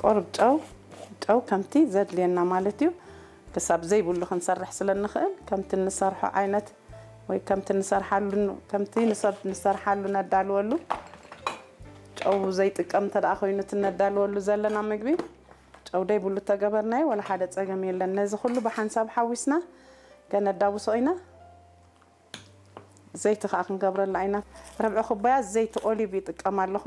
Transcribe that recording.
ቁሩብ ጨው ጨው ከምቲ ዘድልየና ማለት እዩ። ክሳብ ዘይብሉ ክንሰርሕ ስለ ንኽእል ከምቲ እንሰርሖ ዓይነት ወይ ከምቲ እንሰርሓሉ ከምቲ ንሰብ ንሰርሓሉ ነዳልወሉ ጨው ዘይጥቀም እንተ ደኣ ኮይኑ እቲ ነዳልወሉ ዘለና ምግቢ ጨው ደይብሉ ተገበርናዮ ወላ ሓደ ጸገም የለን። ነዚ ኩሉ ብሓንሳብ ሓዊስና ከነዳውሶ ኢና። ዘይቲ ከዓ ክንገብረላ ኢና። ረብዒ ኩባያ ዘይቲ ኦሊቭ ይጥቀም ኣለኹ።